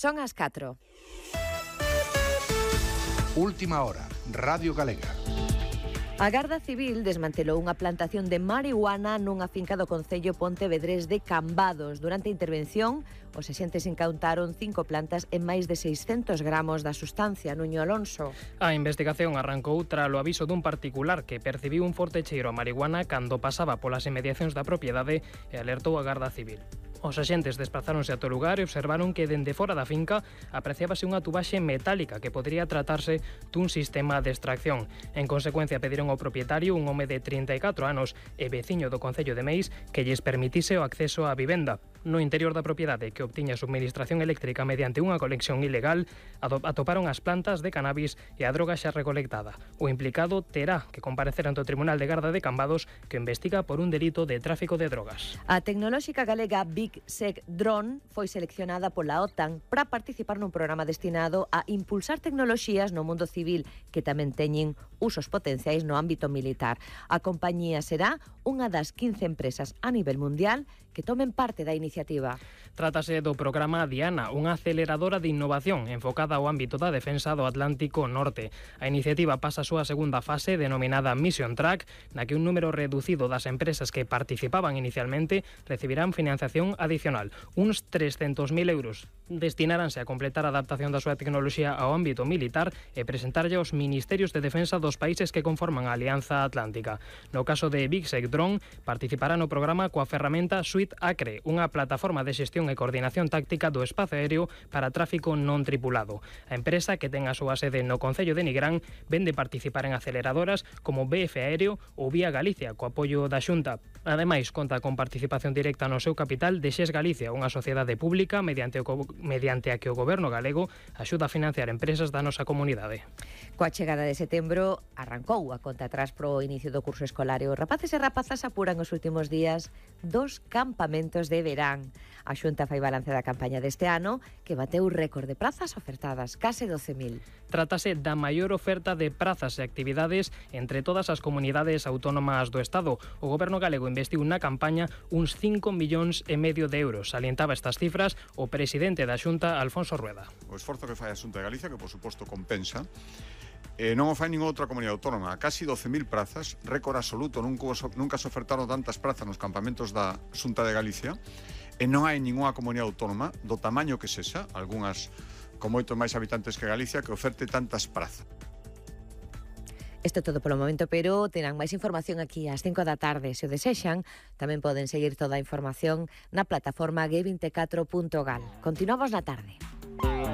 Son as 4. Última hora, Radio Galega. A Garda Civil desmantelou unha plantación de marihuana nunha finca do concello pontevedrés de Cambados. Durante a intervención, os axentes incautaron 5 plantas e máis de 600 gramos da sustancia. Nuño Alonso. A investigación arrancou tras o aviso dun particular que percibiu un forte cheiro a marihuana cando pasaba polas inmediacións da propiedade e alertou a Garda Civil. Os axentes desplazáronse ata o lugar e observaron que dende fora da finca apreciábase unha tubaxe metálica que podría tratarse dun sistema de extracción. En consecuencia, pediron ao propietario, un home de 34 anos e veciño do concello de Meis, que lles permitise o acceso á vivenda. No interior da propiedade, que obtiña subministración eléctrica mediante unha conexión ilegal, atoparon as plantas de cannabis e a droga xa recolectada. O implicado terá que comparecer ante o Tribunal de Garda de Cambados, que investiga por un delito de tráfico de drogas. A tecnolóxica galega BigSec Drone foi seleccionada pola OTAN para participar nun programa destinado a impulsar tecnoloxías no mundo civil que tamén teñen usos potenciais no ámbito militar. A compañía será unha das 15 empresas a nivel mundial que tomen parte da iniciativa. Trátase do programa Diana, unha aceleradora de innovación enfocada ao ámbito da defensa do Atlántico Norte. A iniciativa pasa a súa segunda fase, denominada Mission Track, na que un número reducido das empresas que participaban inicialmente recibirán financiación adicional. Uns 300.000 euros destinaranse a completar a adaptación da súa tecnoloxía ao ámbito militar e presentarlle aos ministerios de defensa dos países que conforman a Alianza Atlántica. No caso de BigSec Drone, participará no programa coa ferramenta Suite Acre, unha plataforma de xestión e coordinación táctica do espazo aéreo para tráfico non tripulado. A empresa, que ten a súa sede no concello de Nigrán, vende participar en aceleradoras como BF Aéreo ou Vía Galicia, co apoio da Xunta. Ademais, conta con participación directa no seu capital de Xes Galicia, unha sociedade pública mediante a que o goberno galego axuda a financiar empresas da nosa comunidade. Coa chegada de setembro, arrancou a conta atrás pro inicio do curso escolar e os rapaces e rapazas apuran os últimos días dos campamentos de verán. A Xunta fai balance da campaña deste ano, que bateu récord de prazas ofertadas, case 12.000. Trátase da maior oferta de prazas e actividades entre todas as comunidades autónomas do Estado. O goberno galego investiu na campaña uns 5,5 millóns de euros. Salientaba estas cifras o presidente da Xunta, Alfonso Rueda. O esforzo que fai a Xunta de Galicia, que por suposto compensa, non o fai ninguna outra comunidade autónoma. Casi 12.000 prazas, récord absoluto. Nunca se ofertaron tantas prazas nos campamentos da Xunta de Galicia, e non hai ninguna comunidade autónoma do tamaño que sexa, algunhas con moitos máis habitantes que Galicia, que oferte tantas prazas. Isto é todo polo momento, pero terán máis información aquí ás 5 da tarde. Se o desexan, tamén poden seguir toda a información na plataforma g24.gal. Continuamos na tarde.